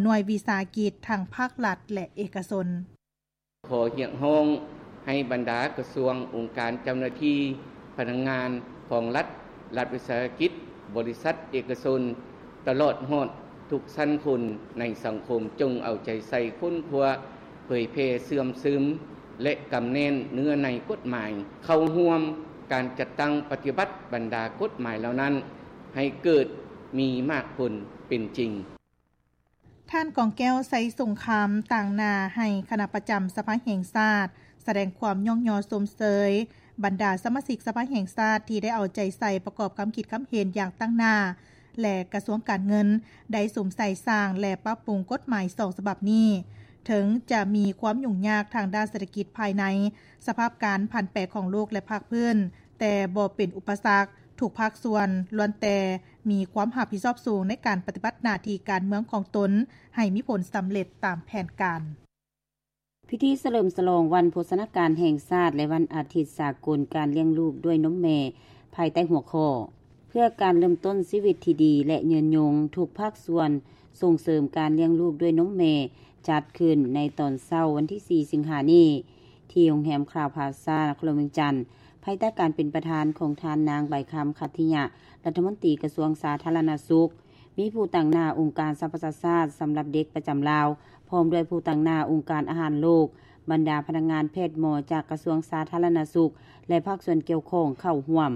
ໜ່ວຍວິສາຫະກິດທັງພາກລັດ ແລະ ເອກະຊົນ. ຂໍຮຽກຮ້ອງໃຫ້ບັນດາກະຊວງ, ອົງການເຈົ້າໜ້າທີ່, ພະນັກງານຂອງລັດ, ລັດວິສາຫະກິດ, ບໍລິສັດເອກະຊົນ ຕະຫຼອດຮອດທຸກຊັ້ນຄົນໃນສັງຄົມ ຈົ່ງເອົາໃຈໃສ່ຄົ້ນຄວ້າ, ເຜີຍແຜ່, ເຊື່ອມຊຶມ ແລະ ກຳແໜ້ນເນື້ອໃນກົດໝາຍ, ເຂົ້າຮ່ວມການຈັດຕັ້ງປະຕິບັດບັນດາກົດໝາຍເຫຼົ່ານັ້ນ ໃຫ້ເກີດມີໝາກຜົນເປັນຈິງ. ທ່ານ ກອງແກ້ວ ໄຊສົງຄາມ ຕາງໜ້າໃຫ້ຄະນະປະຈຳສະພາແຫ່ງຊາດ ສະແດງຄວາມຍ້ອງຍໍຊົມເຊີຍບັນດາສະມາຊິກສະພາແຫ່ງຊາດ ທີ່ໄດ້ເອົາໃຈໃສ່ປະກອບຄຳຄິດຄຳເຫັນຢ່າງຕັ້ງໜ້າ ແລະ ກະຊວງການເງິນໄດ້ສຸມໃສ່ສ້າງ ແລະ ປັບປຸງກົດໝາຍສອງສະບັບນີ້. ເຖິງຈະມີຄວາມຫຍຸ້ງຍາກທາງດ້ານເສດຖະກິດພາຍໃນ, ສະພາບການຜັນແປຂອງໂລກ ແລະ ພາກພື້ນ, ແຕ່ບໍ່ເປັນອຸປະສັກ. ທຸກພາກສ່ວນລ້ວນແຕ່ມີຄວາມຮັບຜິດຊອບສູງໃນການປະຕິບັດໜ້າທີ່ການເມືອງຂອງຕົນໃຫ້ມີຜົນສຳເລັດຕາມແຜນການ. ພິທີສະເຫຼີມສະຫຼອງວັນໂພຊະນາການແຫ່ງຊາດ ແລະ ວັນອາທິດສາກົນການລ້ຽງລູກດ້ວຍນົມແມ່ ພາຍໃຕ້ຫົວຂໍ້ ເພື່ອການເລີ່ມຕົ້ນຊີວິດທີ່ດີ ແລະ ຍືນຍົງ, ທຸກພາກສ່ວນສົ່ງເສີມການລ້ຽງລູກດ້ວຍນົມແມ່ ຈັດຂຶ້ນໃນຕອນເຊົ້າວັນທີສີ່ ສິງຫານີ້ ທີ່ໂຮງແຮມຄຣາວພລາຊາ ນະຄອນຫຼວງວຽງຈັນ, ພາຍໃຕ້ການເປັນປະທານຂອງທ່ານນາງ ໃບຄຳ ຂັດທິຍະ, ລັດຖະມົນຕີກະຊວງສາທາລະນະສຸກ, ມີຜູ້ຕາງໜ້າອົງການສະຫະປະຊາຊາດສຳລັບເດັກປະຈຳລາວ, ພ້ອມດ້ວຍຜູ້ຕາງໜ້າອົງການອາຫານໂລກ, ບັນດາພະນັກງານແພດໝໍຈາກກະຊວງສາທາລະນະສຸກ ແລະ ພາກສ່ວນກ່ຽວຂ້ອງເຂົ້າຮ່ວມ.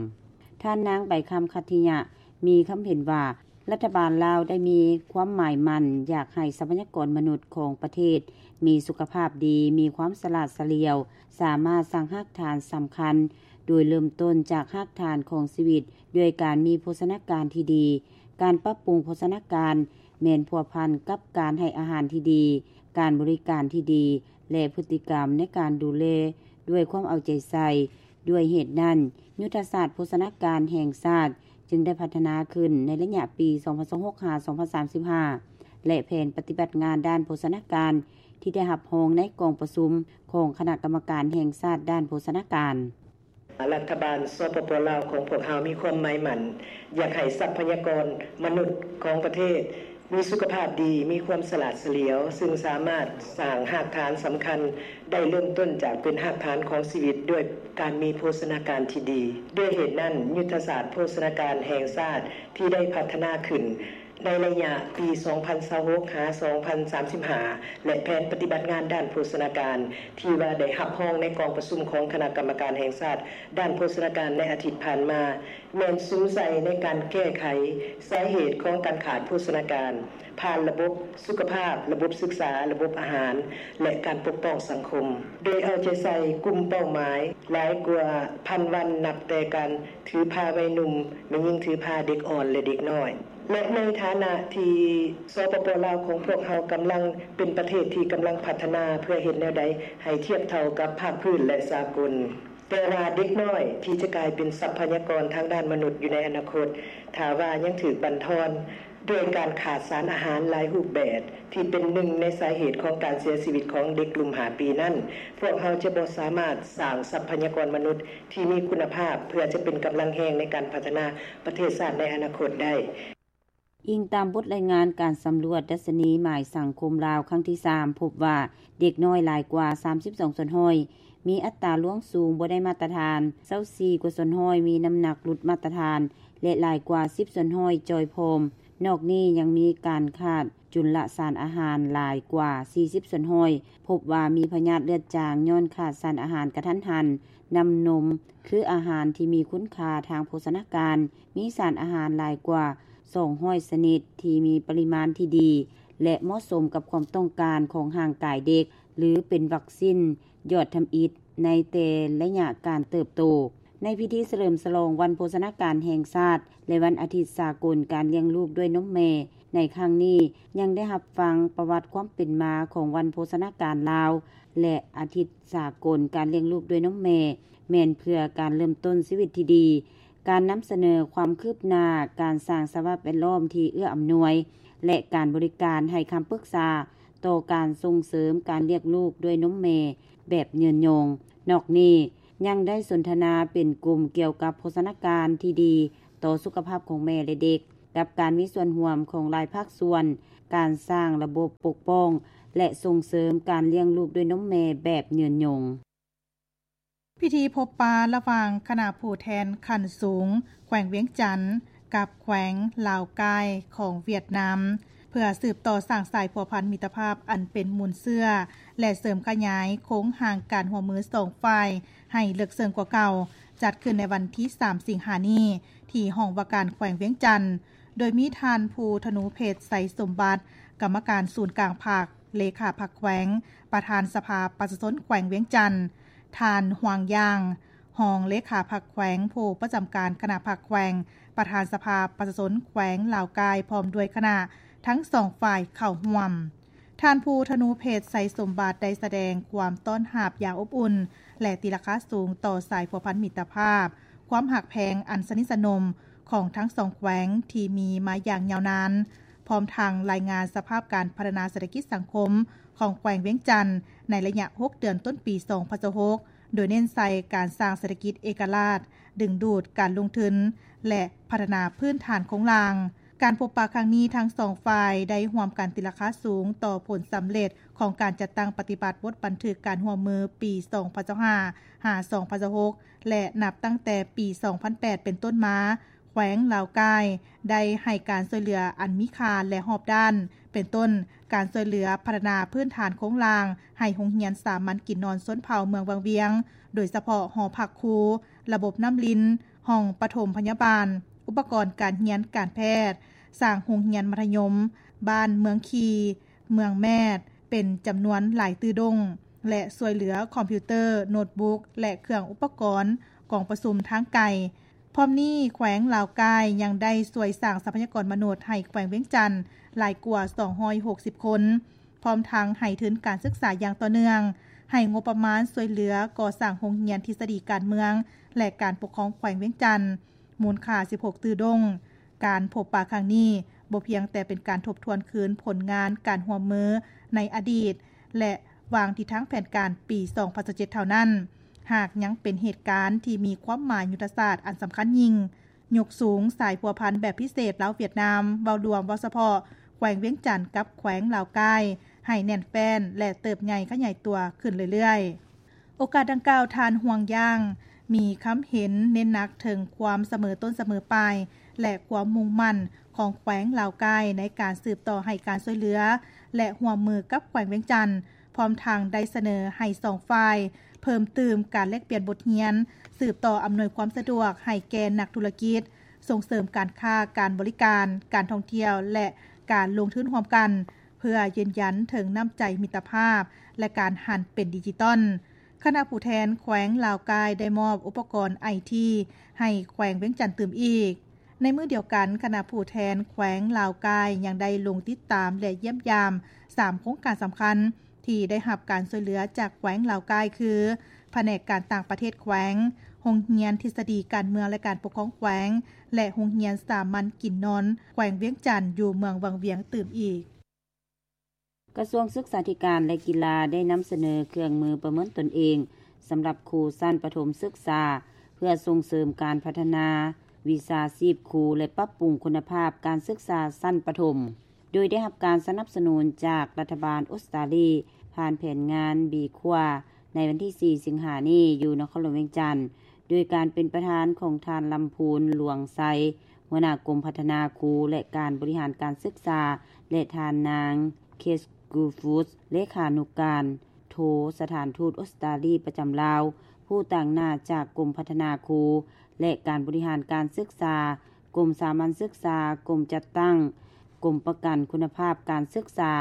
ທ່ານນາງ ໃບຄຳ ຂັດທິຍະ ມີຄຳເຫັນວ່າ ລັດຖະບານລາວໄດ້ມີຄວາມໝາຍໝັ້ນຢາກໃຫ້ຊັບພະຍາກອນມະນຸດຂອງປະເທດມີສຸຂະພາບດີ, ມີຄວາມສະຫຼາດສະຫຼຽວ, ສາມາດສ້າງຮາກຖານສຳຄັນ ໂດຍເລີ່ມຕົ້ນຈາກຮາກຖານຂອງຊີວິດ ດ້ວຍການມີໂພຊະນາການທີ່ດີ. ການປັບປຸງໂພຊະນາການແມ່ນພົວພັນກັບການໃຫ້ອາຫານທີ່ດີ, ການບໍລິການທີ່ດີ ແລະ ພຶດຕິກຳໃນການດູແລດ້ວຍຄວາມເອົາໃຈໃສ່. ດ້ວຍເຫດນັ້ນ, ຍຸດທະສາດໂພຊະນາການແຫ່ງຊາດຈຶ່ງໄດ້ພັດທະນາຂຶ້ນໃນໄລຍະປີສອງພັນຊາວຫົກ ຫາ ສອງພັນສາມສິບຫ້າ ແລະ ແຜນປະຕິບັດງານດ້ານໂພຊະນາການທີ່ໄດ້ຮັບຮອງໃນກອງປະຊຸມຂອງຄະນະກຳມະການແຫ່ງຊາດດ້ານໂພຊະນາການ. ລັດຖະບານ ສປປ ລາວ ຂອງພວກເຮົາມີຄວາມໝາຍໝັ້ນຢາກໃຫ້ຊັບພະຍາກອນມະນຸດຂອງປະເທດ ມີສຸຂະພາບດີ, ມີຄວາມສະຫຼາດສະຫຼຽວ, ຊຶ່ງສາມາດສ້າງຮາກຖານສຳຄັນໄດ້ ເລີ່ມຕົ້ນຈາກເປັນຮາກຖານຂອງຊີວິດດ້ວຍການມີໂພຊະນາການທີ່ດີ. ດ້ວຍເຫດນັ້ນ, ຍຸດທະສາດໂພຊະນາການແຫ່ງຊາດທີ່ໄດ້ພັດທະນາຂຶ້ນໃນໄລຍະປີສອງພັນຊາວຫົກ ຫາ ສອງພັນສາມສິບຫ້າ ແລະ ແຜນປະຕິບັດງານດ້ານໂພຊະນາການທີ່ວ່າໄດ້ຮັບຮອງໃນກອງປະຊຸມຂອງຄະນະກຳມະການແຫ່ງຊາດ ດ້ານໂພຊະນາການໃນອາທິດຜ່ານມາ ແມ່ນສຸມໃສ່ໃນການແກ້ໄຂສາເຫດຂອງການຂາດໂພຊະນາການ ຜ່ານລະບົບສຸຂະພາບ, ລະບົບສຶກສາ, ລະບົບອາຫານ ແລະ ການປົກປ້ອງສັງຄົມ, ໂດຍເອົາໃຈໃສ່ກຸ່ມເປົ້າໝາຍຫຼາຍກວ່າພັນວັນ ນັບແຕ່ການຖືພາໄວໜຸ່ມ, ແມ່ຍິງຖືພາ, ເດັກອ່ອນ ແລະ ເດັກນ້ອຍ. ແລະ ໃນຖານະທີ່ ສປປ ລາວ ຂອງພວກເຮົາກຳລັງເປັນປະເທດທີ່ກຳລັງພັດທະນາ ເພື່ອເຮັດແນວໃດໃຫ້ທຽບເທົ່າກັບພາກພື້ນ ແລະ ສາກົນ. ແຕ່ວ່າເດັກນ້ອຍທີ່ຈະກາຍເປັນຊັບພະຍາກອນທາງດ້ານມະນຸດຢູ່ໃນອະນາຄົດ ຖ້າວ່າຍັງຖືກບັ່ນທອນດ້ວຍການຂາດສານອາຫານຫຼາຍຮູບແບບ ທີ່ເປັນໜຶ່ງໃນສາເຫດຂອງການເສຍຊີວິດຂອງເດັກລຸ່ມຫ້າປີນັ້ນ, ພວກເຮົາຈະບໍ່ສາມາດສ້າງຊັບພະຍາກອນມະນຸດທີ່ມີຄຸນນະພາບ ເພື່ອຈະເປັນກຳລັງແຮງໃນການພັດທະນາປະເທດຊາດໃນອະນາຄົດໄດ້. ອີງຕາມບົດລາຍງານການສຳຫຼວດດັດຊະນີໝາຍສັງຄົມລາວຄັ້ງທີສາມ ພົບວ່າເດັກນ້ອຍຫຼາຍກວ່າສາມສິບສອງສ່ວນຮ້ອຍ ມີອັດຕາລ່ວງສູງບໍ່ໄດ້ມາດຕະຖານ, ຊາວສີ່ກວ່າສ່ວນຮ້ອຍມີນ້ຳໜັກຫຼຸດມາດຕະຖານ ແລະ ຫຼາຍກວ່າສິບສ່ວນຮ້ອຍຈ່ອຍຜອມ. ນອກນີ້ຍັງມີການຂາດຈຸນລະສານອາຫານຫຼາຍກວ່າສີ່ສິບສ່ວນຮ້ອຍ, ພົບວ່າມີພະຍາດເລືອດຈາງຍ້ອນຂາດສານອາຫານກະທັນຫັນ, ນ້ຳນົມ ຄືອາຫານທີ່ມີຄຸນຄ່າທາງໂພຊະນາການ, ມີສານອາຫານຫຼາຍກວ່າສອງຮ້ອຍຊະນິດ ທີ່ມີປະລິມານທີ່ດີ ແລະ ເໝາະສົມກັບຄວາມຕ້ອງການຂອງຮ່າງກາຍເດັກ ຫຼື ເປັນວັກຊິນຍອດທຳອິດໃນແຕ່ໄລຍະການເຕີບໂຕ. ໃນພິທີສະເຫຼີມສະຫຼອງວັນໂພຊະນາການແຫ່ງຊາດ ແລະ ວັນອາທິດສາກົນການລ້ຽງລູກດ້ວຍນົມແມ່ໃນຄັ້ງນີ້, ຍັງໄດ້ຮັບຟັງປະຫວັດຄວາມເປັນມາຂອງວັນໂພຊະນາການລາວ ແລະ ອາທິດສາກົນການລ້ຽງລູກດ້ວຍນົມແມ່ ແມ່ນເພື່ອການເລີ່ມຕົ້ນຊີວິດທີ່ດີ, ການນຳສະເໜີຄວາມຄືບໜ້າການສ້າງສະພາບແວດລ້ອມທີ່ເອື້ອອຳນວຍ ແລະ ການບໍລິການໃຫ້ຄຳປຶກສາຕໍ່ການສົ່ງເສີມການລ້ຽງລູກດ້ວຍນົມແມ່ແບບຍືນຍົງ. ນອກນີ້ຍັງໄດ້ສົນທະນາເປັນກຸ່ມກ່ຽວກັບໂພຊະນາການທີ່ດີຕໍ່ສຸຂະພາບຂອງແມ່ ແລະ ເດັກ, ກັບການມີສ່ວນຮ່ວມຂອງຫຼາຍພາກສ່ວນ ການສ້າງລະບົບປົກປ້ອງ ແລະ ສົ່ງເສີມການລ້ຽງລູກດ້ວຍນົມແມ່ແບບຍືນຍົງ. ພິທີພົບປະລະຫວ່າງຄະນະຜູ້ແທນຂັ້ນສູງແຂວງວຽງຈັນ ກັບແຂວງລາວກາຍຂອງຫວຽດນາມ ເພື່ອສືບຕໍ່ສ້າງສາຍພົວພັນມິດຕະພາບອັນເປັນມູນເຊື້ອ ແລະ ເສີມຂະຫຍາຍໂຄງຮ່າງການຮ່ວມມືສອງຝ່າຍໃຫ້ເລິກເຊິ່ງກວ່າເກົ່າ, ຈັດຂຶ້ນໃນວັນທີສາມ ສິງຫານີ້ ທີ່ຫ້ອງວ່າການແຂວງວຽງຈັນ, ໂດຍມີທ່ານ ພູທະນູເພັດ ໄຊສົມບັດ ກຳມະການສູນກາງພັກ, ເລຂາພັກແຂວງ, ປະທານສະພາປະຊາຊົນແຂວງວຽງຈັນ, ທ່ານ ຫວາງ ຢາງ ຮອງເລຂາພັກແຂວງ, ຜູ້ປະຈຳການຄະນະພັກແຂວງ, ປະທານສະພາປະຊາຊົນແຂວງລາວກາຍ ພ້ອມດ້ວຍຄະນະ ທັງສອງຝ່າຍເຂົ້າຮ່ວມ. ທ່ານ ພູທະນູເພັດ ໄຊສົມບັດ ໄດ້ສະແດງຄວາມຕ້ອນຮັບຢ່າງອົບອຸ່ນ ແລະ ຕີລາຄາສູງຕໍ່ສາຍພົວພັນມິດຕະພາບ, ຄວາມຮັກແພງອັນສະໜິດສະໜົມຂອງທັງສອງແຂວງທີ່ມີມາຢ່າງຍາວນານ, ພ້ອມທັງລາຍງານສະພາບການພັດທະນາເສດຖະກິດສັງຄົມຂອງແຂວງວຽງຈັນ ໃນໄລຍະຫົກເດືອນຕົ້ນປີສອງພັນຊາວຫົກ ໂດຍເນັ້ນໃສ່ການສ້າງເສດຖະກິດເອກະລາດ, ດຶງດູດການລົງທຶນ ແລະ ພັດທະນາພື້ນຖານໂຄງລ່າງ. ການພົບປະຄັ້ງນີ້ ທັງສອງຝ່າຍໄດ້ຮ່ວມກັນຕີລາຄາສູງຕໍ່ຜົນສຳເລັດຂອງການຈັດຕັ້ງປະຕິບັດບົດບັນທຶກການຮ່ວມມືປີສອງພັນຊາວຫ້າ ຫາ ສອງພັນຊາວຫົກ ແລະ ນັບຕັ້ງແຕ່ປີສອງພັນແປດເປັນຕົ້ນມາ, ແຂວງລາວກາຍໄດ້ໃຫ້ການຊ່ວຍເຫຼືອອັນມີຄ່າ ແລະ ຮອບດ້ານ, ເປັນຕົ້ນ ການຊ່ວຍເຫຼືອພັດທະນາພື້ນຖານໂຄງລ່າງໃຫ້ໂຮງຮຽນສາມັນກິນນອນຊົນເຜົ່າເມືອງວັງວຽງ, ໂດຍສະເພາະຫໍພັກຄູ, ລະບົບນ້ຳລິນ, ຫ້ອງປະຖົມພະຍາບານ, ອຸປະກອນການຮຽນການແພດ, ສ້າງໂຮງຮຽນມັດທະຍົມບ້ານເມືອງຄີ, ເມືອງແມດ ເປັນຈຳນວນຫຼາຍຕື້ດົງ ແລະ ຊ່ວຍເຫຼືອຄອມພິວເຕີ, ໂນດບຸກ ແລະ ເຄື່ອງອຸປະກອນກອງປະຊຸມທາງໄກ. ພ້ອມນີ້, ແຂວງລາວກາຍຍັງໄດ້ຊ່ວຍສ້າງຊັບພະຍາກອນມະນຸດໃຫ້ແຂວງວຽງຈັນຫຼາຍກວ່າສອງຮ້ອຍຫົກສິບຄົນ, ພ້ອມທັງໃຫ້ທຶນການສຶກສາຢ່າງຕໍ່ເນື່ອງ, ໃຫ້ງົບປະມານຊ່ວຍເຫຼືອກໍ່ສ້າງໂຮງຮຽນທິດສະດີການເມືອງ ແລະ ການປົກຄອງແຂວງວຽງຈັນ ມູນຄ່າສິບຫົກຕື້ດົງ. ການພົບປະຄັ້ງນີ້ບໍ່ພຽງແຕ່ເປັນການທົບທວນຄືນຜົນງານການຮ່ວມມືໃນອະດີດ ແລະ ວາງທິດທາງແຜນການປີສອງພັນຊາວເຈັດເທົ່ານັ້ນ, ຫາກຍັງເປັນເຫດການທີ່ມີຄວາມໝາຍຍຸດທະສາດອັນສຳຄັນຍິ່ງ, ຍົກສູງສາຍພົວພັນແບບພິເສດລາວຫວຽດນາມ ເວົ້າລວມ, ເວົ້າສະເພາະ ແຂວງວຽງຈັນກັບແຂວງລາວກາຍ ໃຫ້ແໜ້ນແຟ້ນ ແລະ ເຕີບໃຫຍ່ຂະຫຍາຍຕົວຂຶ້ນເລື້ອຍໆ. ໂອກາດດັ່ງກ່າວ, ທ່ານ ຫວາງ ຢາງ ມີຄຳເຫັນເນັ້ນໜັກເຖິງຄວາມສະເໝີຕົ້ນສະເໝີປາຍ ແລະ ຄວາມມຸ່ງໝັ້ນຂອງແຂວງລາວກາຍໃນການສືບຕໍ່ໃຫ້ການຊ່ວຍເຫຼືອ ແລະ ຮ່ວມມືກັບແຂວງວຽງຈັນ, ພ້ອມທັງໄດ້ສະເໜີໃຫ້ສອງຝ່າຍເພີ່ມຕື່ມການແລກປ່ຽນບົດຮຽນ, ສືບຕໍ່ອຳນວຍຄວາມສະດວກໃຫ້ແກ່ນັກທຸລະກິດ, ສົ່ງເສີມການຄ້າ, ການບໍລິການ, ການທ່ອງທ່ຽວ ແລະ ການລົງທຶນຮ່ວມກັນ, ເພື່ອຢືນຢັນເຖິງນ້ຳໃຈມິດຕະພາບ ແລະ ການຫັນເປັນດິຈິຕອນ. ຄະນະຜູ້ແທນແຂວງລາວກາຍໄດ້ມອບອຸປະກອນໄອທີໃຫ້ແຂວງວຽງຈັນຕື່ມອີກ. ໃນມື້ດຽວກັນ, ຄະນະຜູ້ແທນແຂວງລາວກາຍຍັງໄດ້ລົງຕິດຕາມ ແລະ ຢ້ຽມຢາມສາມໂຄງການສຳຄັນທີ່ໄດ້ຮັບການຊ່ວຍເຫຼືອຈາກແຂວງລາວກາຍ ຄື ພະແນກການຕ່າງປະເທດແຂວງ, ໂຮງຮຽນທິດສະດີການເມືອງ ແລະ ການປົກຄອງແຂວງ ແລະ ໂຮງຮຽນສາມັນກິນນອນແຂວງວຽງຈັນ ຢູ່ເມືອງວັງວຽງຕື່ມອີກ. ກະຊວງສຶກສາທິການ ແລະ ກິລາ ໄດ້ນຳສະເໜີເຄື່ອງມືປະເມີນຕົນເອງສຳລັບຄູຊັ້ນປະຖົມສຶກສາ ເພື່ອສົ່ງເສີມການພັດທະນາວິຊາຊີບຄູ ແລະ ປັບປຸງຄຸນນະພາບການສຶກສາຊັ້ນປະຖົມ, ໂດຍໄດ້ຮັບການສະໜັບສະໜູນຈາກລັດຖະບານອົດສະຕາລີ ຜ່ານແຜນງານ ບີຄວາ ໃນວັນທີສີ່ ສິງຫານີ້ ຢູ່ນະຄອນຫຼວງວຽງຈັນ ໂດຍການເປັນປະທານຂອງທ່ານ ລຳພູນ ຫຼວງໄຊ ຫົວໜ້າກົມພັດທະນາຄູ ແລະ ການບໍລິຫານການສຶກສາ ແລະ ທ່ານນາງ ເຄດ ກູຟູດ ເລຂານຸການໂທສະຖານທູດອົດສະຕາລີປະຈຳລາວ, ຜູ້ຕາງໜ້າຈາກກົມພັດທະນາຄູ ແລະ ການບໍລິຫານການສຶກສາ, ກົມສາມັນສຶກສາ, ກົມຈັດຕັ້ງ, ກົມປະກັນຄຸນນະພາບການສຶກສາ,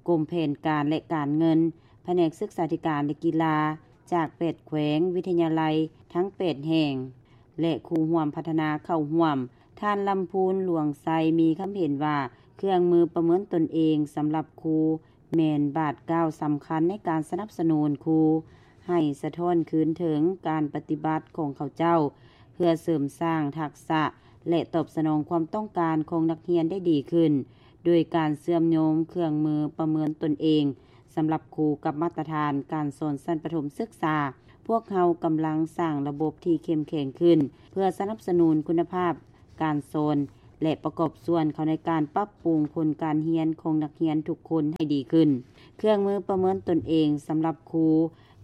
ກົມແຜນການ ແລະ ການເງິນ, ພະແນກສຶກສາທິການ ແລະ ກິລາ ຈາກແປດແຂວງ, ວິທະຍາໄລທັງແປດແຫ່ງ ແລະ ຄູ່ຮ່ວມພັດທະນາເຂົ້າຮ່ວມ. ທ່ານ ລຳພູນ ຫຼວງໄຊ ມີຄຳເຫັນວ່າ ເຄື່ອງມືປະເມີນຕົນເອງສຳລັບຄູ ແມ່ນບາດກ້າວສຳຄັນໃນການສະໜັບສະໜູນຄູ ໃຫ້ສະທ້ອນຄືນເຖິງການປະຕິບັດຂອງເຂົາເຈົ້າ ເພື່ອເສີມສ້າງທັກສະ ແລະ ຕອບສະໜອງຄວາມຕ້ອງການຂອງນັກຮຽນໄດ້ດີຂຶ້ນ, ໂດຍການເຊື່ອມໂຍງເຄື່ອງມືປະເມີນຕົນເອງສຳລັບຄູກັບມາດຕະຖານການສອນຊັ້ນປະຖົມສຶກສາ, ພວກເຮົາກຳລັງສ້າງລະບົບທີ່ເຂັ້ມແຂງຂຶ້ນ ເພື່ອສະໜັບສະໜູນຄຸນນະພາບການສອນ ແລະ ປະກອບສ່ວນເຂົ້າໃນການປັບປຸງຜົນການຮຽນຂອງນັກຮຽນທຸກຄົນໃຫ້ດີຂຶ້ນ. ເຄື່ອງມືປະເມີນຕົນເອງສຳລັບຄູ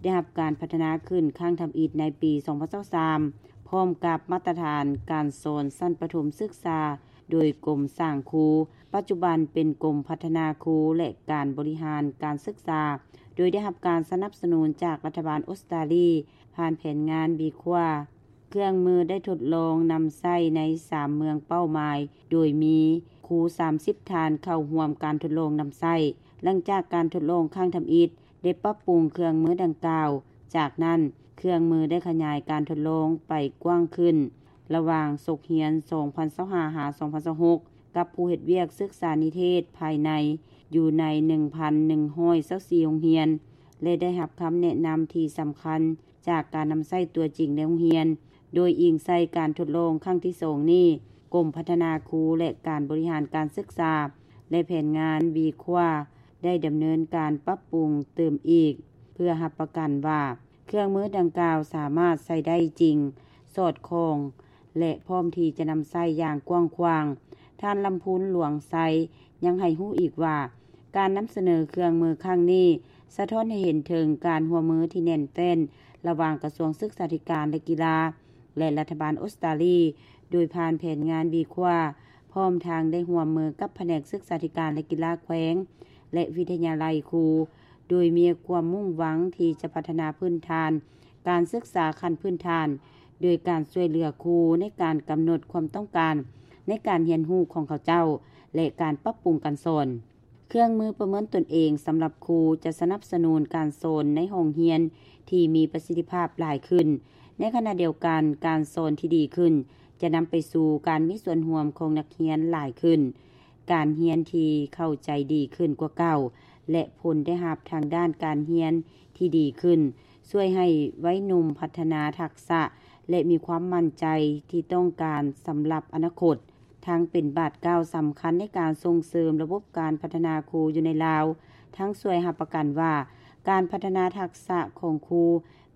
ໄດ້ຮັບການພັດທະນາຂຶ້ນຄັ້ງທຳອິດໃນປີສອງພັນຊາວສາມ ພ້ອມກັບມາດຕະຖານການສອນຊັ້ນປະຖົມສຶກສາ ໂດຍກົມສ້າງຄູ, ປັດຈຸບັນເປັນກົມພັດທະນາຄູ ແລະ ການບໍລິຫານການສຶກສາ, ໂດຍໄດ້ຮັບການສະໜັບສະໜູນຈາກລັດຖະບານອົດສະຕາລີ ຜ່ານແຜນງານ BQUA. ເຄື່ອງມືໄດ້ທົດລອງນຳໃຊ້ໃນສາມເມືອງເປົ້າໝາຍ, ໂດຍມີຄູສາມສິບທ່ານເຂົ້າຮ່ວມການທົດລອງນຳໃຊ້. ຫຼັງຈາກການທົດລອງຄັ້ງທຳອິດ ໄດ້ປັບປຸງເຄື່ອງມືດັ່ງກ່າວ. ຈາກນັ້ນ, ເຄື່ອງມືໄດ້ຂະຫຍາຍການທົດລອງໄປກວ້າງຂຶ້ນ ລະຫວ່າງສົກຮຽນສອງພັນຊາວຫ້າ ຫາ ສອງພັນຊາວຫົກ ກັບຜູ້ເຮັດວຽກສຶກສານິເທດພາຍໃນຢູ່ໃນໜຶ່ງພັນໜຶ່ງຮ້ອຍຊາວສີ່ໂຮງຮຽນ ແລະ ໄດ້ຮັບຄຳແນະນຳທີ່ສຳຄັນຈາກການນຳໃຊ້ຕົວຈິງໃນໂຮງຮຽນ. ໂດຍອີງໃສ່ການທົດລອງຄັ້ງທີສອງນີ້, ກົມພັດທະນາຄູ ແລະ ການບໍລິຫານການສຶກສາ ແລະ ແຜນງານ BQUA ໄດ້ດຳເນີນການປັບປຸງຕື່ມອີກ ເພື່ອຮັບປະກັນວ່າ ເຄື່ອງມືດັ່ງກ່າວສາມາດໃຊ້ໄດ້ຈິງ, ສອດຄ່ອງ ແລະ ພ້ອມທີ່ຈະນຳໃຊ້ຢ່າງກວ້າງຂວາງ. ທ່ານ ລຳພູນ ຫຼວງໄຊ ຍັງໃຫ້ຮູ້ອີກວ່າ ການນຳສະເໜີເຄື່ອງມືຄັ້ງນີ້ ສະທ້ອນໃຫ້ເຫັນເຖິງການຮ່ວມມືທີ່ແໜ້ນແຟ້ນ ລະຫວ່າງກະຊວງສຶກສາທິການ ແລະ ກິລາ ແລະ ລັດຖະບານອົດສະຕາລີ ໂດຍຜ່ານແຜນງານ BQUA ພ້ອມທັງໄດ້ຮ່ວມມືກັບພະແນກສຶກສາທິການ ແລະ ກິລາແຂວງ ແລະ ວິທະຍາໄລຄູ ໂດຍມີຄວາມມຸ່ງຫວັງທີ່ຈະພັດທະນາພື້ນຖານການສຶກສາຂັ້ນພື້ນຖານ ໂດຍການຊ່ວຍເຫຼືອຄູໃນການກຳນົດຄວາມຕ້ອງການໃນການຮຽນຮູ້ຂອງເຂົາເຈົ້າ ແລະ ການປັບປຸງການສອນ. ເຄື່ອງມືປະເມີນຕົນເອງສຳລັບຄູຈະສະໜັບສະໜູນການສອນໃນຫ້ອງຮຽນທີ່ມີປະສິດທິພາບຫຼາຍຂຶ້ນ. ໃນຂະນະດຽວກັນ, ການສອນທີ່ດີຂຶ້ນຈະນຳໄປສູ່ການມີສ່ວນຮ່ວມຂອງນັກຮຽນຫຼາຍຂຶ້ນ, ການຮຽນທີ່ເຂົ້າໃຈດີຂຶ້ນກວ່າເກົ່າ ແລະ ຜົນໄດ້ຮັບທາງດ້ານການຮຽນທີ່ດີຂຶ້ນ, ຊ່ວຍໃຫ້ໄວໜຸ່ມພັດທະນາທັກສະ ແລະ ມີຄວາມໝັ້ນໃຈທີ່ຕ້ອງການສຳລັບອະນາຄົດ. ທັງເປັນບາດກ້າວສຳຄັນໃນການສົ່ງເສີມລະບົບການພັດທະນາຄູຢູ່ໃນລາວ, ທັງຊ່ວຍຮັບປະກັນວ່າການພັດທະນາທັກສະຂອງຄູ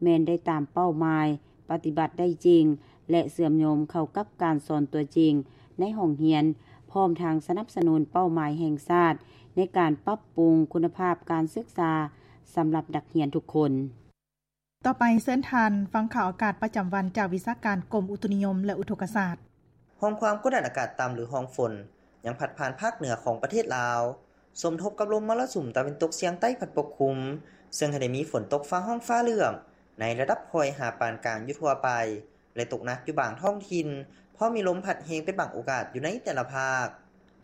ແມ່ນໄດ້ຕາມເປົ້າໝາຍ, ປະຕິບັດໄດ້ຈິງ ແລະ ເຊື່ອມໂຍງເຂົ້າກັບການສອນຕົວຈິງໃນຫ້ອງຮຽນ, ພ້ອມທັງສະໜັບສະໜູນເປົ້າໝາຍແຫ່ງຊາດໃນການປັບປຸງຄຸນນະພາບການສຶກສາສຳລັບນັກຮຽນທຸກຄົນ. ຕໍ່ໄປເຊີນທ່ານຟັງຂ່າວອາກາດປະຈຳວັນຈາກວິຊາການກົມອຸຕຸນິຍົມ ແລະ ອຸທົກກະສາດ. ຮ່ອງຄວາມກົດດັນອາກາດຕ່ຳ ຫຼື ຮ່ອງຝົນ ຍັງພັດຜ່ານພາກເໜືອຂອງປະເທດລາວ, ສົມທົບກັບລົມມໍລະສຸມຕາເວັນຕົກສຽງໃຕ້ພັດປົກຄຸມ, ເຊິ່ງໃຫ້ໄດ້ມີຝົນຕົກຟ້າຮ້ອງຟ້າເຫຼື້ອມ ໃນລະດັບຄ່ອຍຫາປານກາງຢູ່ທົ່ວໄປ ແລະ ຕົກໜັກຢູ່ບາງທ້ອງຖິ່ນ, ພໍມີລົມພັດແຮງເປັນບາງໂອກາດຢູ່ໃນແຕ່ລະພາກ.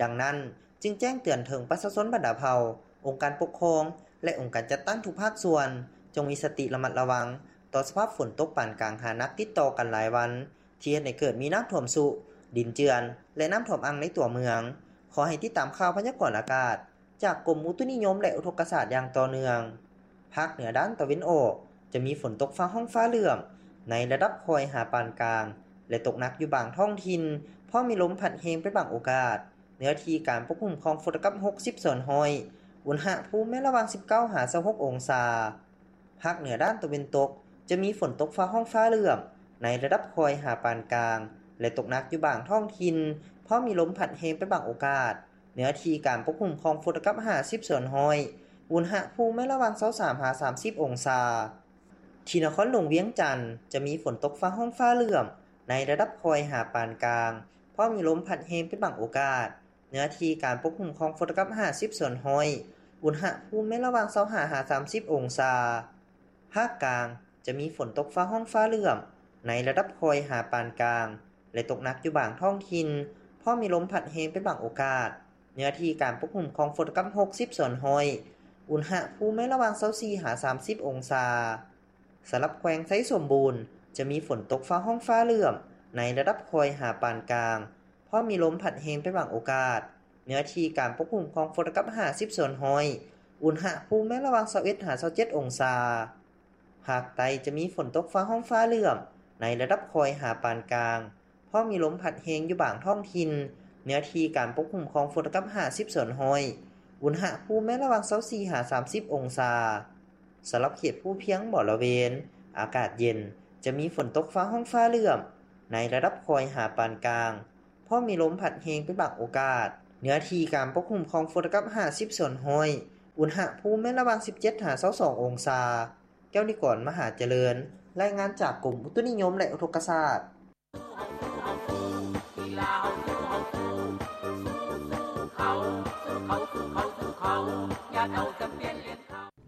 ດັ່ງນັ້ນ, ຈຶ່ງແຈ້ງເຕືອນເຖິງປະຊາຊົນບັນດາເຜົ່າ, ອົງການປົກຄອງ ແລະ ອົງການຈັດຕັ້ງທຸກພາກສ່ວນ ຈົ່ງມີສະຕິລະມັດລະວັງຕໍ່ສະພາບຝົນຕົກປານກາງຫາໜັກຕິດຕໍ່ກັນຫຼາຍວັນ, ທີ່ເຮັດໃຫ້ເກີດມີນ້ຳຖ້ວມຊຸ, ດິນເຈື່ອນ ແລະ ນ້ຳຖ້ວມອັ່ງໃນຕົວເມືອງ. ຂໍໃຫ້ຕິດຕາມຂ່າວພະຍາກອນອາກາດຈາກກົມອຸຕຸນິຍົມ ແລະ ອຸທົກກະສາດຢ່າງຕໍ່ເນື່ອງ. ພາກເໜືອດ້ານຕາເວັນອອກ ຈະມີຝົນຕົກຟ້າຮ້ອງຟ້າເຫຼື້ອມ ໃນລະດັບຄ່ອຍຫາປານກາງ ແລະ ຕົກໜັກຢູ່ບາງທ້ອງຖິ່ນ, ພໍມີລົມພັດແຮງເປັນບາງໂອກາດ. ເນື້ອທີ່ການປົກຄຸມຂອງຝົນຕະກັບຫົກສິບສ່ວນຮ້ອຍ, ອຸນຫະພູມແມ່ນລະຫວ່າງສິບເກົ້າຫາຊາວຫົກອົງສາ. ພາກເໜືອດ້ານຕາເວັນຕົກ ຈະມີຝົນຕົກຟ້າຮ້ອງຟ້າເຫຼື້ອມ ໃນລະດັບຄ່ອຍຫາປານກາງ ແລະ ຕົກໜັກຢູ່ບາງທ້ອງຖິ່ນ, ພໍມີລົມພັດແຮງເປັນບາງໂອກາດ. ເນື້ອທີ່ການປົກຄຸມຂອງຝົນຕະກັບຫ້າສິບສ່ວນຮ້ອຍ, ອຸນຫະພູມແມ່ນລະຫວ່າງຊາວສາມຫາສາມສິບອົງສາ. ທີ່ນະຄອນຫຼວງວຽງຈັນ ຈະມີຝົນຕົກຟ້າຮ້ອງຟ້າເຫຼື້ອມ ໃນລະດັບຄ່ອຍຫາປານກາງ, ພໍມີລົມພັດແຮງເປັນບາງໂອກາດ. ເນື້ອທີ່ການປົກຄຸມຂອງຝົນຕະກັບຫ້າສິບສ່ວນຮ້ອຍ, ອຸນຫະພູມແມ່ນລະຫວ່າງຊາວຫ້າຫາສາມສິບອົງສາ. ພາກກາງ ຈະມີຝົນຕົກຟ້າຮ້ອງຟ້າເຫຼື້ອມ ໃນລະດັບຄ່ອຍຫາປານກາງ ແລະ ຕົກໜັກຢູ່ບາງທ້ອງຖິ່ນ, ພໍມີລົມພັດແຮງເປັນບາງໂອກາດ. ເນື້ອທີ່ການປົກຄຸມຂອງຝົນຕະກັບຫົກສິບສ່ວນຮ້ອຍ, ອຸນຫະພູມແມ່ນລະຫວ່າງຊາວສີ່ຫາສາມສິບອົງສາ. ສຳລັບແຂວງໄຊສົມບູນ ຈະມີຝົນຕົກຟ້າຮ້ອງຟ້າເຫຼື້ອມ ໃນລະດັບຄ່ອຍຫາປານກາງ, ພໍມີລົມພັດແຮງເປັນບາງໂອກາດ. ເນື້ອທີ່ການປົກຄຸມຂອງຝົນຕະກັບຫ້າສິບສ່ວນຮ້ອຍ, ອຸນຫະພູມແມ່ນລະຫວ່າງຊາວເອັດຫາຊາວເຈັດອົງສາ. ພາກໃຕ້ຈະມີຝົນຕົກຟ້າຮ້ອງຟ້າເຫຼື້ອມ ໃນລະດັບຄ່ອຍຫາປານກາງ, ພໍມີລົມພັດແຮງຢູ່ບາງທ້ອງຖິ່ນ. ເນື້ອທີ່ການປົກຄຸມຂອງຝົນຕະກັບຫ້າສິບສ່ວນຮ້ອຍ, ອຸນຫະພູມແມ່ນລະຫວ່າງຊາວສີ່ຫາສາມສິບອົງສາ. ສຳລັບເຂດພູພຽງບໍລະເວນ ອາກາດເຢັນ, ຈະມີຝົນຕົກຟ້າຮ້ອງຟ້າເຫຼື້ອມ ໃນລະດັບຄ່ອຍຫາປານກາງ. ພ້ອມມີລົມພັດແຮງເປັນບາງໂອກາດ. ເນື້ອທີ່ການປົກຄຸມຂອງຝົນກັບຫ້າສິບສ່ວນຮ້ອຍ. ອຸນຫະພູມແມ່ນລະຫວ່າງສິບເຈັດຫາຊາວສອງອົງສາ. ແກ້ວນິກອນ ມະຫາຈະເລີນ, ລາຍງານຈາກກົມອຸຕຸນິຍົມ ແລະ ອຸທົກກະສາດ.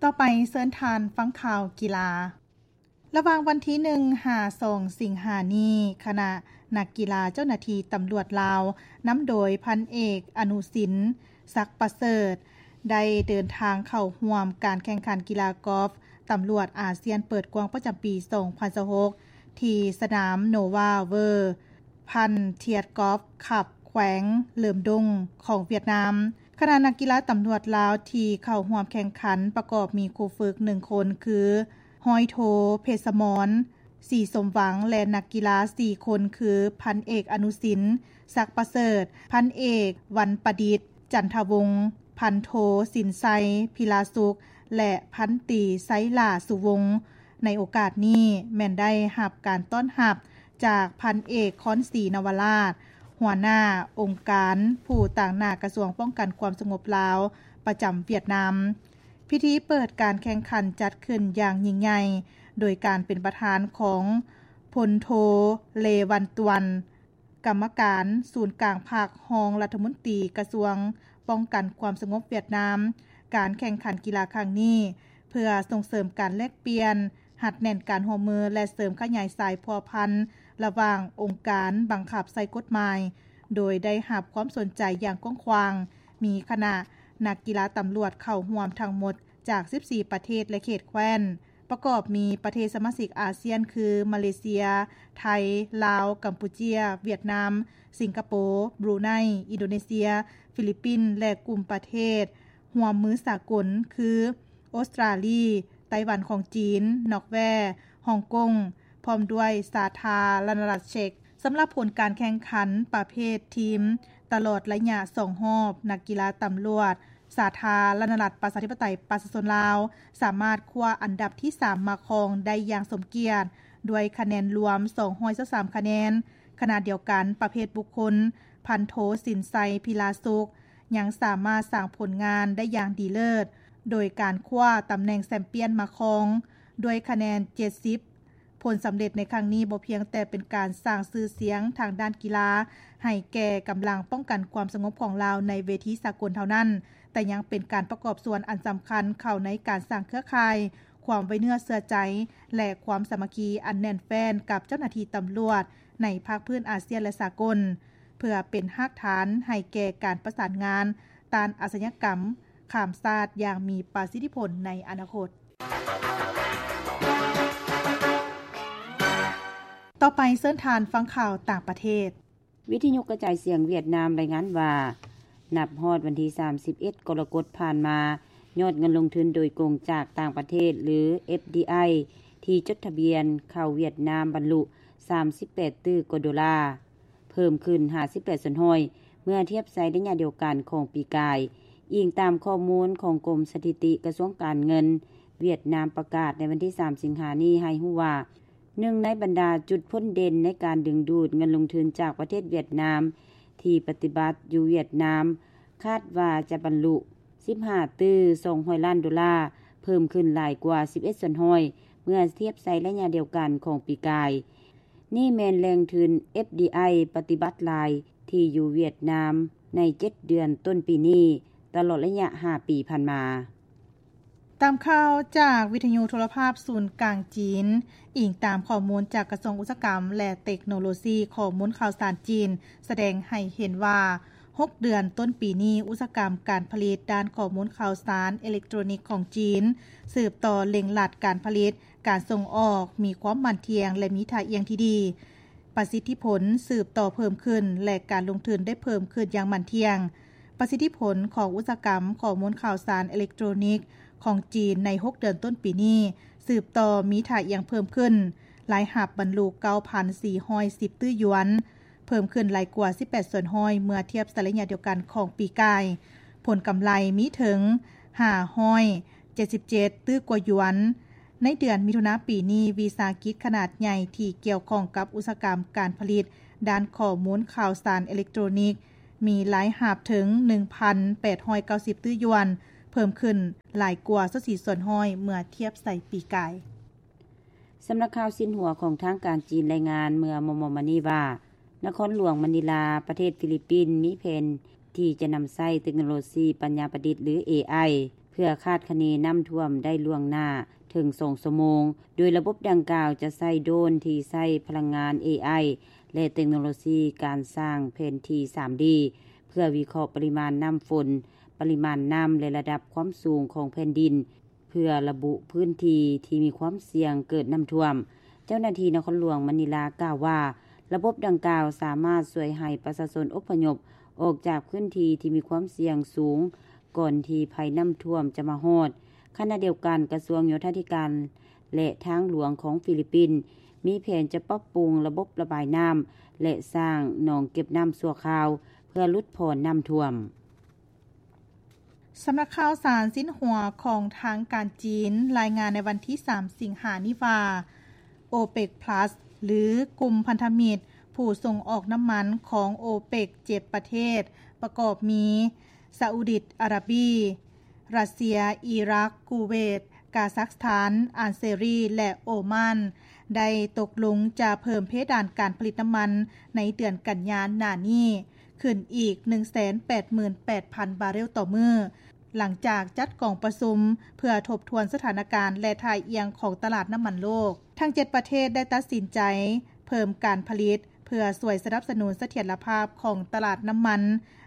ຕໍ່ໄປເຊີນທ່ານຟັງຂ່າວກິລາ. ລະຫວ່າງວັນທີໜຶ່ງຫາສອງສິງຫານີ້, ຄະນະນັກກິລາເຈົ້າໜ້າທີ່ຕຳຫຼວດລາວ ນຳໂດຍພັນເອກ ອະນຸສິນ ສັກປະເສີດ ໄດ້ເດີນທາງເຂົ້າຮ່ວມການແຂ່ງຂັນກິລາກອຟຕຳຫຼວດອາຊຽນເປີດກວ້າງປະຈຳປີສອງພັນຊາວຫົກ ທີ່ສະໜາມ ໂນວາ ເວີ ພັນທຽດກອຟຄັບ ແຂວງເຫຼີມດົງ ຂອງຫວຽດນາມ. ຄະນະນັກກິລາຕຳຫຼວດລາວທີ່ເຂົ້າຮ່ວມແຂ່ງຂັນ ປະກອບມີຄູຝຶກໜຶ່ງຄົນ ຄື ຮ້ອຍໂທ ເພດສະໝອນ ສີສົມຫວັງ ແລະ ນັກກິລາສີ່ຄົນ ຄື ພັນເອກ ອະນຸສິນ ສັກປະເສີດ, ພັນເອກ ວັນປະດິດ ຈັນທະວົງ, ພັນໂທ ສິນໄຊ ພິລາສຸກ ແລະ ພັນຕີ ໄຊຫຼ້າ ສຸວົງ. ໃນໂອກາດນີ້ແມ່ນໄດ້ຮັບການຕ້ອນຮັບຈາກພັນເອກ ຄອນສີ ນະວະລາດ ຫົວໜ້າອົງການຜູ້ຕາງໜ້າກະຊວງປ້ອງກັນຄວາມສະຫງົບລາວປະຈຳຫວຽດນາມ. ພິທີເປີດການແຂ່ງຂັນຈັດຂຶ້ນຢ່າງຍິ່ງໃຫຍ່ ໂດຍການເປັນປະທານຂອງ ພົນໂທ ເລ ວັນຕວນ ກຳມະການສູນກາງພັກ, ຮອງລັດຖະມົນຕີກະຊວງປ້ອງກັນຄວາມສະຫງົບຫວຽດນາມ. ການແຂ່ງຂັນກິລາຄັ້ງນີ້ ເພື່ອສົ່ງເສີມການແລກປ່ຽນ, ຮັດແໜ້ນການຮ່ວມມື ແລະ ເສີມຂະຫຍາຍສາຍພົວພັນລະຫວ່າງອົງການບັງຄັບໃຊ້ກົດໝາຍ, ໂດຍໄດ້ຮັບຄວາມສົນໃຈຢ່າງກວ້າງຂວາງ. ມີຄະນະນັກກິລາຕຳຫຼວດເຂົ້າຮ່ວມທັງໝົດຈາກສິບສີ່ປະເທດ ແລະ ເຂດແຄວ້ນ. ປະກອບມີປະເທດສະມາຊິກອາຊຽນ ຄື ມາເລເຊຍ, ໄທ, ລາວ, ກຳປູເຈຍ, ຫວຽດນາມ, ສິງກະໂປ, ບຣູໄນ, ອິນໂດເນເຊຍ, ຟີລິບປິນ ແລະ ກຸ່ມປະເທດຮ່ວມມືສາກົນ ຄື ອົດສະຕຣາລີ, ໄຕ້ຫວັນຂອງຈີນ, ນອກແວ, ຮົງກົງ ພ້ອມດ້ວຍສາທາລະນະລັດເຊັກ. ສຳລັບຜົນການແຂ່ງຂັນປະເພດທີມ ຕະຫຼອດໄລຍະສອງຮອບ, ນັກກິລາຕຳຫຼວດ ສາທາລະນະລັດປະຊາທິປະໄຕປະຊາຊົນລາວ ສາມາດຄວ້າອັນດັບທີສາມມາຄອງໄດ້ຢ່າງສົມກຽດ ດ້ວຍຄະແນນລວມສອງຮ້ອຍຊາວສາມຄະແນນ. ຂະນະດຽວກັນ, ປະເພດບຸກຄົນ, ພັນໂທ ສິນໄຊ ພິລາສຸກ ຍັງສາມາດສ້າງຜົນງານໄດ້ຢ່າງດີເລີດ ໂດຍການຄວ້າຕຳແໜ່ງແຊມປຽນມາຄອງ ດ້ວຍຄະແນນເຈັດສິບ. ຜົນສຳເລັດໃນຄັ້ງນີ້ບໍ່ພຽງແຕ່ເປັນການສ້າງຊື່ສຽງທາງດ້ານກິລາໃຫ້ແກ່ກຳລັງປ້ອງກັນຄວາມສະຫງົບຂອງລາວໃນເວທີສາກົນເທົ່ານັ້ນ, ແຕ່ຍັງເປັນການປະກອບສ່ວນອັນສຳຄັນເຂົ້າໃນການສ້າງເຄືອຂ່າຍ, ຄວາມໄວ້ເນື້ອເຊື່ອໃຈ ແລະ ຄວາມສາມັກຄີອັນແໜ້ນແຟ້ນກັບເຈົ້າໜ້າທີ່ຕຳຫຼວດໃນພາກພື້ນອາຊຽນ ແລະ ສາກົນ, ເພື່ອເປັນຮາກຖານໃຫ້ແກ່ການປະສານງານຕ້ານອາຊະຍາກຳຂ້າມຊາດຢ່າງມີປະສິດທິຜົນໃນອະນາຄົດ. ຕໍ່ໄປເຊີນທ່ານຟັງຂ່າວຕ່າງປະເທດ. ວິທະຍຸກະຈາຍສຽງຫວຽດນາມລາຍງານວ່າ ນັບຮອດວັນທີສາມສິບເອັດ ກໍລະກົດຜ່ານມາ, ຍອດເງິນລົງທຶນໂດຍກົງຈາກຕ່າງປະເທດ ຫຼື ເອັຟດີໄອ ທີ່ຈົດທະບຽນເຂົ້າຫວຽດນາມບັນລຸສາມສິບແປດຕື້ກວ່າໂດລາ, ເພີ່ມຂຶ້ນຫ້າສິບແປດສ່ວນຮ້ອຍ ເມື່ອທຽບໃສ່ໄລຍະດຽວກັນຂອງປີກາຍ, ອີງຕາມຂໍ້ມູນຂອງກົມສະຖິຕິກະຊວງການເງິນຫວຽດນາມປະກາດໃນວັນທີສາມສິງຫານີ້ໃຫ້ຮູ້ວ່າ ໜຶ່ງໃນບັນດາຈຸດພົ້ນເດັ່ນໃນການດຶງດູດເງິນລົງທຶນຈາກປະເທດຫວຽດນາມທີ່ປະຕິບັດຢູ່ຫວຽດນາມ ຄາດວ່າຈະບັນລຸສິບຫ້າຕື້ສອງຮ້ອຍລ້ານໂດລາ, ເພີ່ມຂຶ້ນຫຼາຍກວ່າສິບເອັດສ່ວນຮ້ອຍ ເມື່ອທຽບໃສ່ໄລຍະດຽວກັນຂອງປີກາຍ. ນີ້ແມ່ນແຫຼ່ງທຶນ ເອັຟດີໄອ ປະຕິບັດຫຼາຍທີ່ຢູ່ຫວຽດນາມໃນເຈັດເດືອນຕົ້ນປີນີ້, ຕະຫຼອດໄລຍະຫ້າປີຜ່ານມາ. ຕາມຂ່າວຈາກວິທະຍຸໂທລະພາບສູນກາງຈີນ, ອີງຕາມຂໍ້ມູນຈາກກະຊວງອຸດສາຫະກຳ ແລະ ເຕັກໂນໂລຊີ, ຂໍ້ມູນຂ່າວສານຈີນສະແດງໃຫ້ເຫັນວ່າ ຫົກເດືອນຕົ້ນປີນີ້, ອຸດສາຫະກຳການຜະລິດດ້ານຂໍ້ມູນຂ່າວສານເອເລັກໂຕຣນິກຂອງຈີນ ສືບຕໍ່ເລັ່ງລັດການຜະລິດ, ການສົ່ງອອກມີຄວາມໝັ້ນທ່ຽງ ແລະ ມີທ່າອ່ຽງທີ່ດີ. ປະສິດທິຜົນສືບຕໍ່ເພີ່ມຂຶ້ນ ແລະ ການລົງທຶນໄດ້ເພີ່ມຂຶ້ນຢ່າງໝັ້ນທ່ຽງ. ປະສິດທິຜົນຂອງອຸດສາຫະກຳຂໍ້ມູນຂ່າວສານເອເລັກໂຕຣນິກຂອງຈີນໃນຫົກເດືອນຕົ້ນປີນີ້ ສືບຕໍ່ມີທ່າອ່ຽງເພີ່ມຂຶ້ນ, ລາຍຮັບບັນລຸເກົ້າພັນສີ່ຮ້ອຍສິບຕື້ຢວນ, ເພີ່ມຂຶ້ນຫຼາຍກວ່າສິບແປດສ່ວນຮ້ອຍ ເມື່ອທຽບໃສ່ໄລຍະດຽວກັນຂອງປີກາຍ. ຜົນກຳໄລມີເຖິງຫ້າຮ້ອຍເຈັດສິບເຈັດຕື້ກວ່າຢວນ. ໃນເດືອນມິຖຸນາປີນີ້, ວິສາຫະກິດຂະໜາດໃຫຍ່ທີ່ກ່ຽວຂ້ອງກັບອຸດສາຫະກຳການຜະລິດ ດ້ານຂໍ້ມູນຂ່າວສານເອເລັກໂຕຣນິກ ມີລາຍຮັບເຖິງ ໜຶ່ງພັນແປດຮ້ອຍເກົ້າສິບຕື້ຢວນ, ເພີ່ມຂຶ້ນຫຼາຍກວ່າຊາວສີ່ສ່ວນຮ້ອຍເມື່ອທຽບໃສ່ປີກາຍ. ສຳນັກຂ່າວຊິນຫົວຂອງທາງການຈີນລາຍງານເມື່ອມໍ່ໆມານີ້ວ່າ ນະຄອນຫຼວງມະນີລາ ປະເທດຟີລິບປິນ ມີແຜນທີ່ຈະນຳໃຊ້ເຕັກໂນໂລຊີປັນຍາປະດິດ ຫຼື ເອໄອ ເພື່ອຄາດຄະເນນ້ຳຖ້ວມໄດ້ລ່ວງໜ້າເຖິງສອງຊົ່ວໂມງ, ໂດຍລະບົບດັ່ງກ່າວຈະໃຊ້ໂດຣນທີ່ໃຊ້ພະລັງງານ ເອໄອ ແລະ ເຕັກໂນໂລຊີການສ້າງແຜນທີ່ ສາມດີ ເພື່ອວິເຄາະປະລິມານນ້ຳຝົນ, ປະລິມານນ້ຳ ແລະ ລະດັບຄວາມສູງຂອງແຜ່ນດິນ, ເພື່ອລະບຸພື້ນທີ່ທີ່ມີຄວາມສ່ຽງເກີດນ້ຳຖ້ວມ. ເຈົ້າໜ້າທີ່ນະຄອນຫຼວງມະນີລາກ່າວວ່າ ລະບົບດັ່ງກ່າວສາມາດຊ່ວຍໃຫ້ປະຊາຊົນອົບພະຍົບອອກຈາກພື້ນທີ່ທີ່ມີຄວາມສ່ຽງສູງ ກ່ອນທີ່ໄພນ້ຳຖ້ວມຈະມາຮອດ. ຂະນະດຽວກັນ, ກະຊວງໂຍທາທິການ ແລະ ທາງຫຼວງຂອງຟີລິບປິນ ມີແຜນຈະປັບປຸງລະບົບລະບາຍນ້ຳ ແລະ ສ້າງໜອງເກັບນ້ຳຊົ່ວຄາວ ເພື່ອຫຼຸດຜ່ອນນ້ຳຖ້ວມ. ສຳນັກຂ່າວສານຊິນຫົວຂອງທາງການຈີນລາຍງານໃນວັນທີສາມ ສິງຫານີ້ວ່າ ໂອເປັກພລັສ ຫຼື ກຸ່ມພັນທະມິດຜູ້ສົ່ງອອກນ້ຳມັນຂອງໂອເປັກ ເຈັດປະເທດ ປະກອບມີ ຊາອຸດີອາຣາບີ, ຣັດເຊຍ, ອີຣັກ, ກູເວດ, ກາຊັກສະຖານ, ອານເຊຣີ ແລະ ໂອມານ ໄດ້ຕົກລົງຈະເພີ່ມເພດານການຜະລິດນ້ຳມັນໃນເດືອນກັນຍາໜ້ານີ້ ຂຶ້ນອີກ ໜຶ່ງແສນແປດໝື່ນແປດພັນບາເຣວຕໍ່ມື້, ຫຼັງຈາກຈັດກອງປະຊຸມເພື່ອທົບທວນສະຖານະການ ແລະ ທ່າອ່ຽງຂອງຕະຫຼາດນ້ຳມັນໂລກ. ທັງເຈັດປະເທດໄດ້ຕັດສິນໃຈເພີ່ມການຜະລິດ ເພື່ອຊ່ວຍສະໜັບສະໜູນສະຖຽນລະພາບຂອງຕະຫຼາດນ້ຳມັນ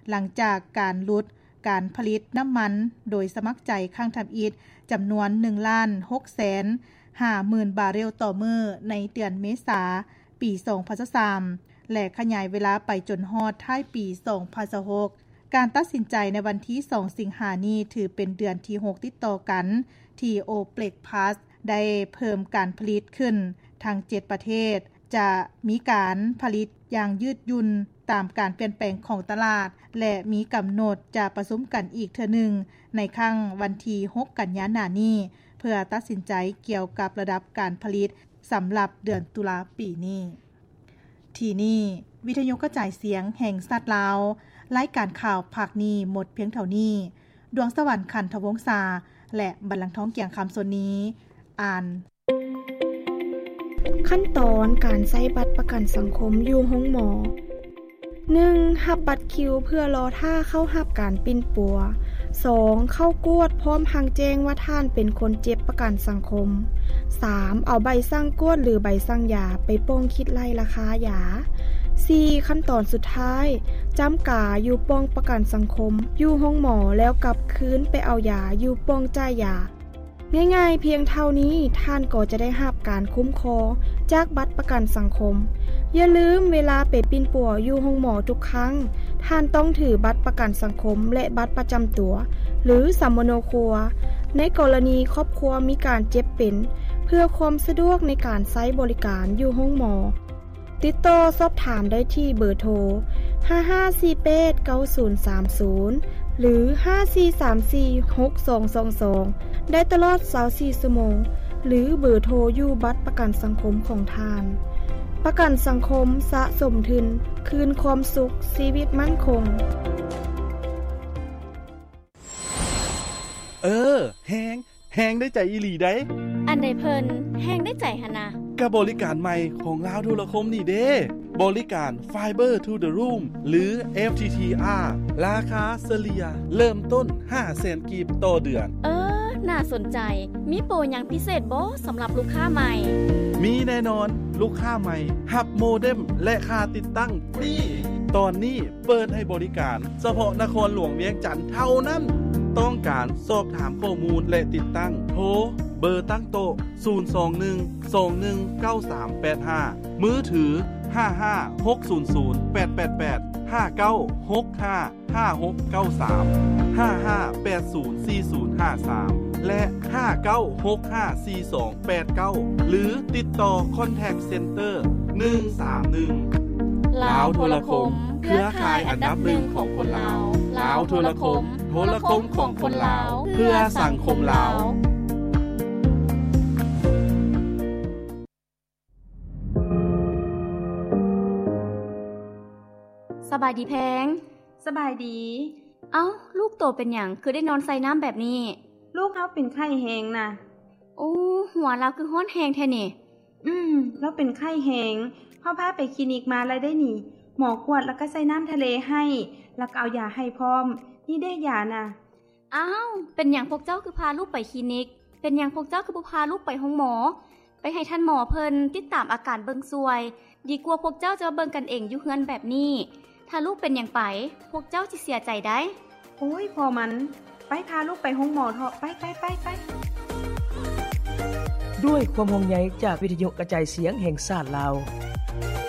ຫຼັງຈາກການຫຼຸດການຜະລິດນ້ຳມັນໂດຍສະໝັກໃຈຄັ້ງທຳອິດ ຈຳນວນ ໜຶ່ງລ້ານຫົກແສນຫ້າໝື່ນບາເຣວຕໍ່ມື້ ໃນເດືອນເມສາ ປີສອງພັນຊາວສາມ ແລະ ຂະຫຍາຍເວລາໄປຈົນຮອດທ້າຍປີສອງພັນຊາວຫົກ. ການຕັດສິນໃຈໃນວັນທີສອງ ສິງຫານີ້ ຖືເປັນເດືອນທີຫົກຕິດຕໍ່ກັນ ທີ່ໂອເປັກພລັສ ໄດ້ເພີ່ມການຜະລິດຂຶ້ນ. ທັງເຈັດປະເທດຈະມີການຜະລິດຢ່າງຍືດຫຍຸ່ນຕາມການປ່ຽນແປງຂອງຕະຫຼາດ ແລະ ມີກຳນົດຈະປະຊຸມກັນອີກເທື່ອໜຶ່ງ ໃນຄັ້ງວັນທີຫົກ ກັນຍາໜ້ານີ້ ເພື່ອຕັດສິນໃຈກ່ຽວກັບລະດັບການຜະລິດສຳລັບເດືອນຕຸລາປີນີ້. ທີ່ນີ້ ວິທະຍຸກະຈາຍສຽງແຫ່ງຊາດລາວ, ລາຍການຂ່າວພາກນີ້ໝົດພຽງເທົ່ານີ້. ດວງສະຫວັນ ຂັນທະວົງສາ ແລະ ບັນລັງທອງ ກຽງຄຳ ສ່ວນນີ້ ອ່ານ. ຂັ້ນຕອນການໃຊ້ບັດປະກັນສັງຄົມຢູ່ໂຮງໝໍ. ໜຶ່ງ ຮັບບັດຄິວເພື່ອລໍຖ້າເຂົ້າຮັບການປິ່ນປົວ. ສອງ ເຂົ້າກວດພ້ອມທັງແຈ້ງວ່າທ່ານເປັນຄົນເຈັບປະກັນສັງຄົມ. ສາມ ເອົາໃບສັ່ງກວດ ຫຼື ໃບສັ່ງຢາໄປປ່ອງຄິດໄລ່ລາຄາຢາ. ສີ່ ຂັ້ນຕອນສຸດທ້າຍ ຈ້ຳກາຢູ່ປ່ອງປະກັນສັງຄົມຢູ່ໂຮງໝໍ ແລ້ວກັບຄືນໄປເອົາຢາຢູ່ປ່ອງຈ່າຍຢາ. ງ່າຍໆພຽງເທົ່ານີ້ ທ່ານກໍຈະໄດ້ຮັບການຄຸ້ມຄອງຈາກບັດປະກັນສັງຄົມ. ຢ່າລືມ, ເວລາໄປປິ່ນປົວຢູ່ໂຮງໝໍທຸກຄັ້ງ, ທ່ານຕ້ອງຖືບັດປະກັນສັງຄົມ ແລະ ບັດປະຈຳຕົວ ຫຼື ສຳມະໂນຄົວ ໃນກໍລະນີຄອບຄົວມີການເຈັບເປັນ, ເພື່ອຄວາມສະດວກໃນການໃຊ້ບໍລິການຢູ່ໂຮງໝໍ. ຕິດຕໍ່ສອບຖາມໄດ້ທີ່ເບີໂທ ຫ້າຫ້າສີ່ແປດເກົ້າສູນສາມສູນ ຫຼື ຫ້າສີ່ສາມສີ່ຫົກສອງສອງສອງ ໄດ້ຕະຫຼອດຊາວສີ່ຊົ່ວໂມງ ຫຼື ເບີໂທຢູ່ບັດປະກັນສັງຄົມຂອງທ່ານ. ປະກັນສັງຄົມສະສົມທຶນ ຄືນຄວາມສຸກ, ຊີວິດໝັ້ນຄົງ. ເອີ ແຮງ ແຮງໄດ້ໃຈອີ່ຫຼີໃດ໋. ອັນໃດເພິ່ນແຮງໄດ້ໃຈຫັ້ນນະ? ກະບໍລິການໃໝ່ຂອງລາວໂທລະຄົມນີ້ເດ້ ບໍລິການ Fiber to the Room ຫຼື FTTR ລາຄາສະເລ່ຍເລີ່ມຕົ້ນຫ້າແສນກີບຕໍ່ເດືອນ. ເອີ ໜ້າສົນໃຈ. ມີໂປຫຍັງພິເສດບໍ່ສຳລັບລູກຄ້າໃໝ່? ມີແນ່ນອນ, ລູກຄ້າໃໝ່ຮັບໂມເດັມ ແລະ ຄ່າຕິດຕັ້ງຟຣີ. ຕອນນີ້ ເປີດໃຫ້ບໍລິການສະເພາະນະຄອນຫຼວງວຽງຈັນເທົ່ານັ້ນ. ຕ້ອງການສອບຖາມຂໍ້ມູນ ແລະ ຕິດຕັ້ງ ໂທເບີຕັ້ງໂຕະ ສູນສອງໜຶ່ງສອງໜຶ່ງເກົ້າສາມແປດຫ້າ, ມືຖື ຫ້າຫ້າຫົກສູນສູນແປດແປດແປດ, ຫ້າເກົ້າຫົກຫ້າຫ້າຫົກເກົ້າສາມ, ຫ້າຫ້າແປດສູນສີ່ສູນຫ້າສາມ ແລະ ຫ້າເກົ້າຫົກຫ້າສີ່ສອງ ແປດເກົ້າ ຫຼື ຕິດຕໍ່ Contact Center ໜຶ່ງສາມໜຶ່ງ. ລາວໂທລະຄົມ, ເຄືອຂ່າຍອັນດັບໜຶ່ງຂອງຄົນລາວ. ລາວໂທລະຄົມ, ໂທລະຄົມຂອງຄົນລາວ, ເພື່ອສັງຄົມລາວ. ສະບາຍດີແພງ. ສະບາຍດີ. ເອົ້າ, ລູກໂຕເປັນຫຍັງ ຄືໄດ້ນອນໃສ່ນ້ຳແບບນີ້? ລູກເຮົາເປັນໄຂ້ແຮງນະ. ໂອ້, ຫົວລາວຄືຮ້ອນແຮງແທ້ນີ້. ອືມ, ລາວເປັນໄຂ້ແຮງ. ເຮົາພາໄປຄລີນິກມາແລ້ວເດ້ນີ້. ໝໍກວດແລ້ວກໍໃສ່ນ້ຳທະເລໃຫ້, ແລ້ວກໍເອົາຢາໃຫ້ພ້ອມ. ນີ້ເດ້ຢານະ. ອ້າວ, ເປັນຫຍັງພວກເຈົ້າຄືພາລູກໄປຄລີນິກ? ເປັນຫຍັງພວກເຈົ້າຄືບໍ່ພາລູກໄປໂຮງໝໍ? ໄປໃຫ້ທ່ານໝໍເພິ່ນຕິດຕາມອາການເບິ່ງຊ່ວຍ, ດີກວ່າພວກເຈົ້າຈະມາເບິ່ງກັນເອງຢູ່ເຮືອນແບບນີ້. ຖ້າລູກເປັນຫຍັງໄປ, ພວກເຈົ້າຊິເສຍໃຈໄດ໋. ໂອ້ຍ, ພໍ່ມັນ, ໄປພາລູກໄປໂຮງໝໍເຖາະ, ໄປ, ໄປ, ໄປ, ໄປ. ດ້ວຍຄວາມຫ່ວງໃຍຈາກວິທະຍຸກະຈາຍສຽງແຫ່ງຊາດລາວ.